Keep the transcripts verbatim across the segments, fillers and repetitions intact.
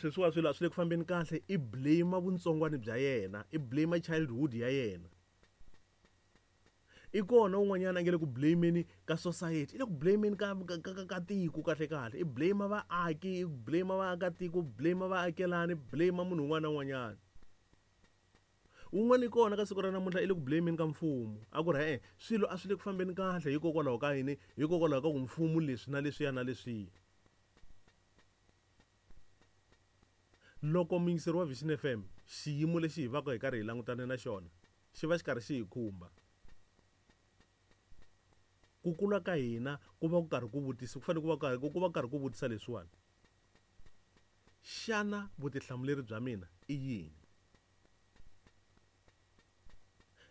Sweswiwa swilo a swi le ku fambeni kahle, i blame vuntsongwani bya yena, i blame childhood ya yena. I kona un'wanyana a nge le ku blameni ka society, i le ku blameni ka ka ka ka tiko kahle kahle, i blame vaaki, i blame vaakatiko, blame vaakelani, blame munhu un'wana na un'wanyana. Wun'wana i kona ka siku ra namuntlha i le ku blameni ka mfumo, a ku ri e-e swilo a swi le ku fambeni kahle hikokwalaho ka yini, hikokwalaho ka ku mfumo leswi na leswiya na leswiya. Loko muyingiseri wa Vision F M xiyimo lexi hi vaka hi karhi hi langutane na xona xi va xi karhi xi hi khumba, ku kula ka hina ku va ku karhi ku vutisa, ku fanele ku va karhi ku va karhi ku vutisa leswiwani, xana vutihlamuleri bya mina i yini?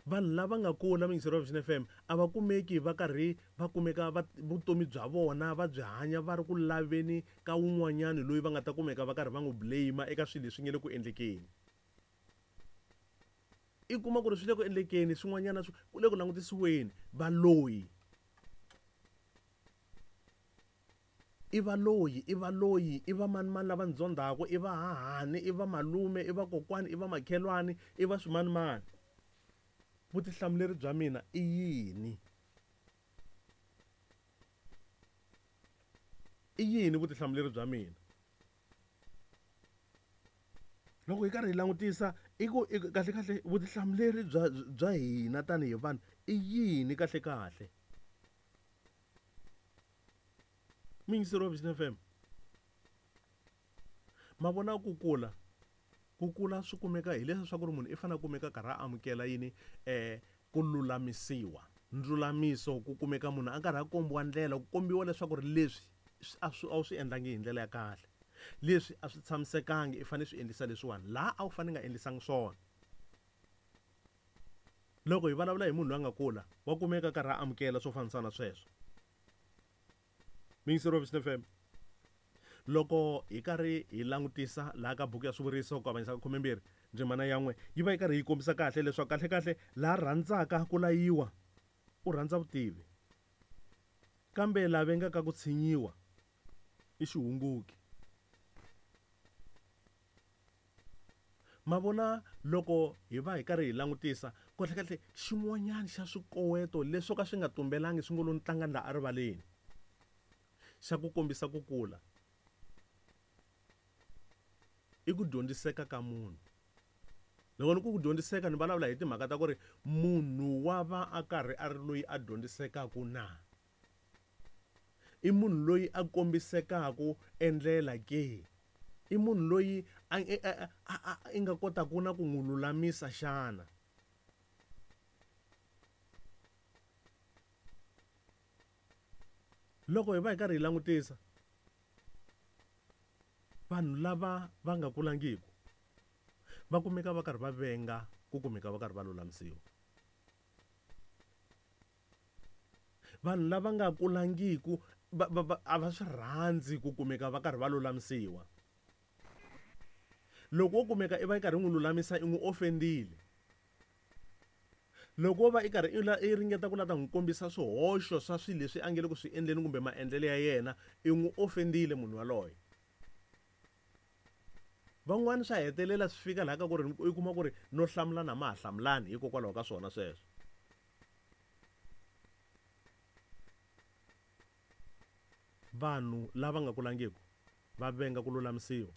Vanhu lava nga kula muyingiseri wa Vision F M a va kumeki va karhi va kumeka va vutomi bya vona va byi hanya va ri ku laveni ka wun'wanyani loyi va nga ta kumeka va karhi va n'wi blame eka swilo leswi nge le ku endlekeni. I kuma ku ri swi le ku endlekeni swin'wanyana swi ku le ku langutisiweni valoyi. I valoyi, i valoyi, i va mani mani lava ndzondhaku, i va hahani, i va malume, i va kokwani, i va makhelwani, i va swimanimani. Vutihlamuleri bya mina i yini? I yini vutihlamuleri bya mina? Loko hi karhi hi langutisa i ku i kahle kahle vutihlamuleri bya bya hina tanihi vanhu i yini kahle kahle? Muyingiseri wa Vision F M, ma vona ku kula, ku kula swi kumeka hileswi swa ku ri munhu i fanele a kumeka karhi a amukela yini, eh, ku lulamisiwa. Ndzulamiso ku kumeka munhu a karhi a kombiwa ndlela, ku kombiwa leswaku ri leswi a swi, a wu swi endlangi hi ndlela ya kahle, leswi a swi tshamisekangi, i fanele swi endlisa leswiwani laha a wu fanele nga endlisangi swona. Loko hi vulavula hi munhu loyi a nga kula, wa kumeka karhi a amukela swo fambisana na sweswo. Muyingiseri wa Vision F M, loko hi karhi hi langutisa laha ka buku ya swivuriso ku avanyisa ka khumembirhi ndzimana ya n'we, yi va yi karhi yi kombisa kahle leswaku kahle kahle laha rhandzaka ku layiwa u rhandza vutivi, kambe la vengaka ku tshinyiwa i xihunguki. Ma vona loko hi va hi karhi hi langutisa kahle kahle xin'wanyana xa swikoweto leswo ka swi nga tumbelangi swi ngo lo tlanga la erivaleni xa ku kombisa ku kula i ku dyondziseka ka munhu. Loko ni ku ku dyondziseka ni vulavula hi timhaka ta ku ri munhu wa va a karhi a ri loyi a dyondzisekaka na, i munhu loyi a kombisekaka endlela ke, i munhu loyi a, a, a, a, i nga kotaka na ku n'wi lulamisa xana. Loko hi va hi karhi hi langutisa vanhu lava va nga kulangiki va kumeka va karhi va venga ku kumeka va karhi va lulamisiwa. Vanhu lava nga kulangiku va, va, va, a va swi rhandzi ku kumeka va karhi va lulamisiwa. Loko wo kumeka i va i karhi n'wi lulamisa, i n'wi offendile. Loko wo va i karhi i la, i ringeta ku lava ta n'wi kombisa swihoxo swa swilo leswi a nge le ku swi endleni kumbe maendlelo ya yena, i n'wi offendile munhu yaloye. Van'wani swa hetelela swi fika laha ka ku ri i kuma ku ri no hlamulana ma ha hlamulani hikokwalaho ka swona sweswo. Vanhu lava nga kulangiki va venga ku lulamisiwa.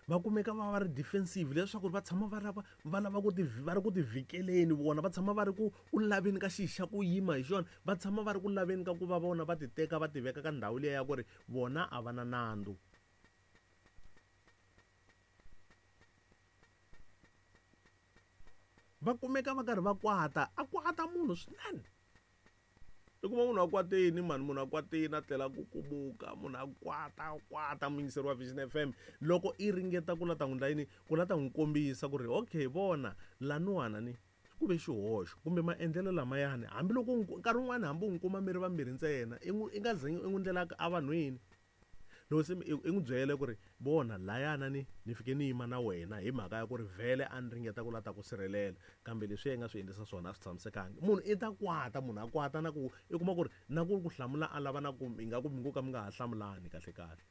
Va kumeka va va ri defensive leswaku va tshama va lava, va lava ku ti, va ri ku tivhikeleni vona, va tshama va ri ku, ku laveni ka xi xa ku yima hi xona, va tshama va ri ku laveni ka ku va vona va ti teka va ti veka ka ndhawu liya ya ku ri vona a va na nandzu. Va kumeka va karhi va kwata, a kwata munhu swinene. I kuma munhu a kwatini mani, munhu a kwatini a tlela ku kumuka, munhu a kwata, a kwata muyingiseri wa Vision F M. Loko i ringeta ku la ta n'wi endla yini, ku la ta n'wi kombisa ku ri okay vona laniwana ni ku ve xihoxo kumbe maendlelo lamayani, hambiloko u n'wi, nkarhi wun'wani hambi u n'wi kuma mi ri vambirhi ntsena, i n'wi, i nga ze i n'wi ndlela evanhwini. Loko se i, i n'wi byele ku ri vona layana ni, ni fike ni yima na wena hi mhaka ya ku ri vhele a ni ringeta ku la ta ku sirhelela, kambe leswi i nga swi endlisa swona a swi tshamisekanga. Munhu i ta kwata, munhu a kwata na ku i kuma ku ri na ku ku hlamula a lava na ku ingaku mi ngo ka mi nga ha hlamulani kahle kahle.